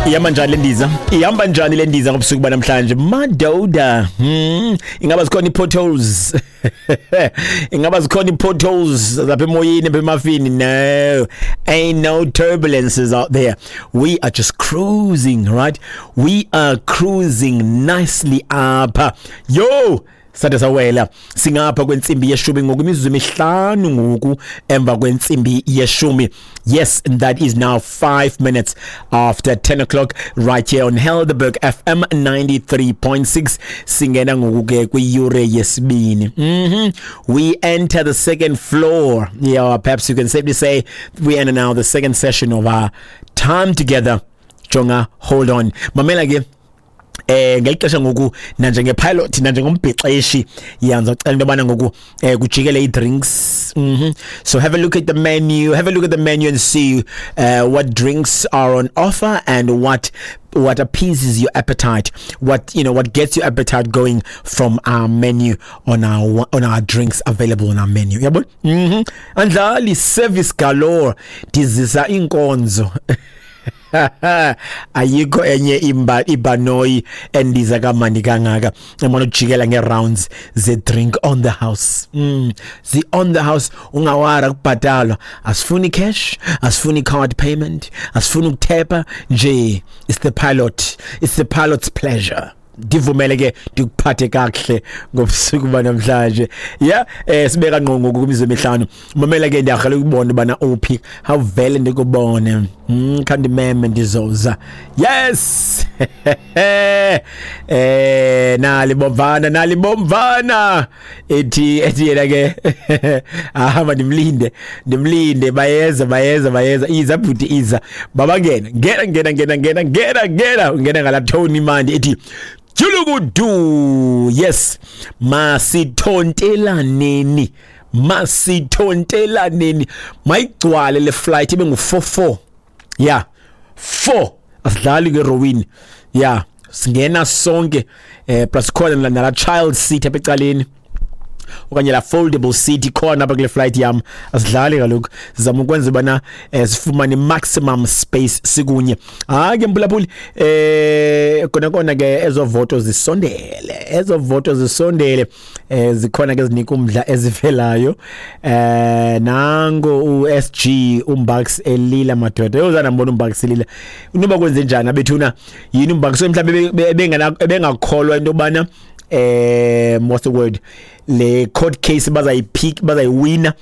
Ihamba njani le ndiza? Ihamba njani le ndiza ngobusuku banamhlanje? Madoda. Ingaba zikhona i-potholes? Ingaba zikhona i-potholes lapha emoyeni, lapha emafini? No. Ain't no turbulences out there. We are just cruising, right? We are cruising nicely apha. Yo! Sade sawela singapha kwentsimbi yeshumi ngoku, imizuzu emihlanu ngoku emva kwentsimbi yeshumi. Yes, and that is now 5 minutes after 10 o'clock right here on Helderberg FM 93.6. Singena ngoku ke kwiyure yesibini. We enter the second floor. Yeah, perhaps you can safely say we enter now the second session of our time together. Jonga, hold on, mamela ke ngelixesha ngoku nanjengepilot, nanjengombhexeshi, yanza cela into yobana ngoku kujikele ii-drinks. So have a look at the menu, have a look at the menu and see what drinks are on offer and what appeases your appetite, what you know what gets your appetite going from our menu, on our drinks available on our menu, yabo. Andlali, service galore, ndizisa inkonzo. Ayikho enye imba ibhanoyi endiza kamandi kangaka emana ujikela nge-rounds ze-drink on the house. Zi on the house, ungawara kubhatalwa. Asifuni cash, asifuni card payment, asifuni ukuthepa nje. It's the pilot, it's the pilot's pleasure. Ndivumele ke ndikuphathe kakuhle ngobusuku banamhlanje. Yeah, sibeka ngqo ngoku kwimizuzu emihlanu. Mamela ke, ndiyarhala ukubona ubana uphi, awuvele ndikubone. Khandimeme, ndizoza. Yes, nali bomvana, nali bomvana, ethi yena ke ahamba, ndimlinde, ndimlinde. Bayeza, bayeza, bayeza. Iza bhuti, iza baba, ngena, ngena, ngena, ngena, ngena, ngena, ngena, ngena ngala tone imandi ethi julukudu. Yes, masithontelaneni, masithontelaneni, mayigcwale le flight ibe ngu-44. Yeah, 4, asidlali ke rowini. Yeah, singena sonke, plus khona nala child seat apha ecaleni okanye la foldable seat ikhona apha kule flight yam. Asidlali kaloku, sizama ukwenza ubana sifumane maximum space sikunye. Hayi ke mbulabuli, kona kona ke ezo voto zisondele, ezo voto zisondele. Zikhona ke zinika umdla ezivelayo. Nango uSG uMbax elila, madoda. Yozana mbona uMbax elila, unoba kwenze njani abethuna yini uMbax? Mhlawumbe ebengakholwa into yobana, what's the word, le court case bazayipick, bazayiwina.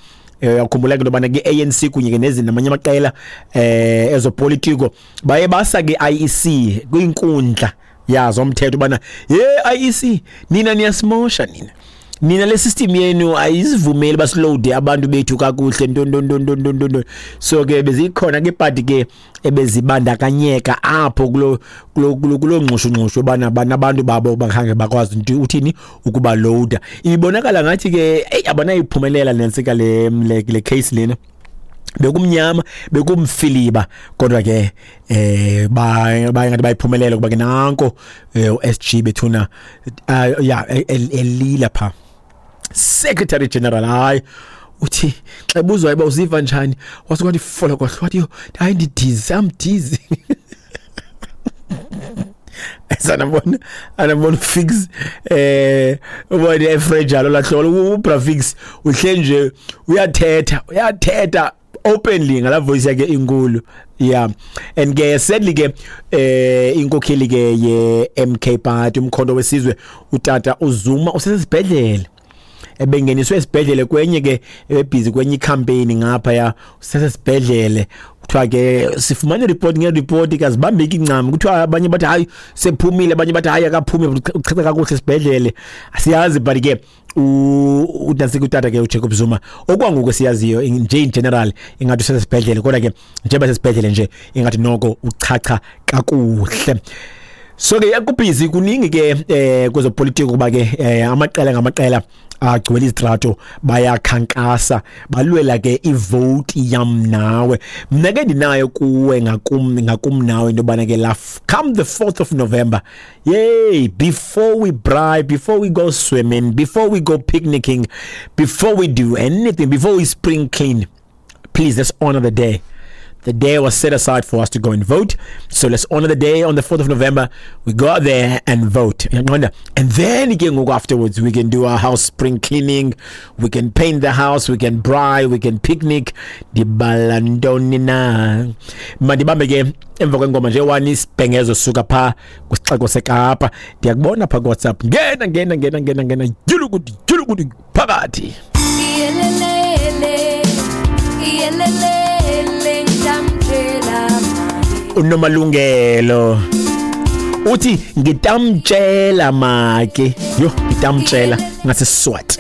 Uyakhumbula ke into yobana ke ANC kunye ke nezinye namanye amaqela ezopolitiko baye basa ke IEC kwinkundla yazo umthetho ubana, "Ye IEC, nina niyasimosha nina, nina le system yenu ayizivumeli basiloade abantu bethu kakuhle, nto nto nto nto nto nto." So ke bezikhona ke party ke ebezibandakanyeka apho kulo ngxushu bana banabantu babo bakhange bakwazi into uthini ukuba loader. Ibonakala ngathi ke hey, abanayiphumelela nensika le case lena. Bekumnyama, bekumfiliba, kodwa ke baye ngathi bayiphumelela, kuba ke nanko uSG bethuna, yeah, elila pha, Secretary General. Hayi, uthi xa ebuzwa uba uziva njani, wasuka wathi folokohlo, wathi, "Yo, hayi, ndidizzy, I'm dizzy." Sanabona, anabona fix, ubone efrejalo lahlolo uBrafix uhle nje uyathetha, uyathetha openly ngala voice yakhe inkulu. Yeah, and ke sadly ke inkokheli ke ye MK Party, umkhonto wesizwe, utata uZuma usesibhedlele, ebengeniswe esibhedlele kwenye ke ebusy kwenye icampaign ngapha ya, usesibhedlele. Kuthiwa ke sifumane report ngereport kazibambeki incam. Kuthiwa abanye bathi hayi, sephumile, abanye bathi hayi, akaphumi, uchacha kakuhle esibhedlele, asiyazi. But ke uNansi utata ke uJacob Zuma, okwangoku siyaziyo nje in general ingathi usesibhedlele, kodwa ke njengoba sesibhedlele nje ingathi noko uchacha kakuhle. So ke yakubhizi kuningi ke kwezopolitiko, kuba ke amaqela ngamaqela agcwele izitrato, bayakhankasa, balwela ke ivote yam nawe. Mna ke ndinayo kuwe, ngakum nawe, into yobana ke la come the 4th of November, yay, before we braai, before we go swimming, before we go picnicking, before we do anything, before we spring clean, please, let's honor the day. The day was set aside for us to go and vote. So let's honor the day on the 4th of November. We go out there and vote. Uyaqonda? And then ke ngoku afterwards we can do our house spring cleaning, we can paint the house, we can braai, we can picnic. Ndibala ntoni na? Mandibambe ke emva kwengoma nje wani isibhengezo suka pha kwisixeko seKapa. Ndiyakubona pha kuWhatsApp. Ngena ngena ngena ngena ngena yulukuthi yulukuthi phakathi. Iyelelele, iyelelele, ngitamtshela make. Unomalungelo uthi ngitamtshela make. Yho, ngitamtshela ngase Swati.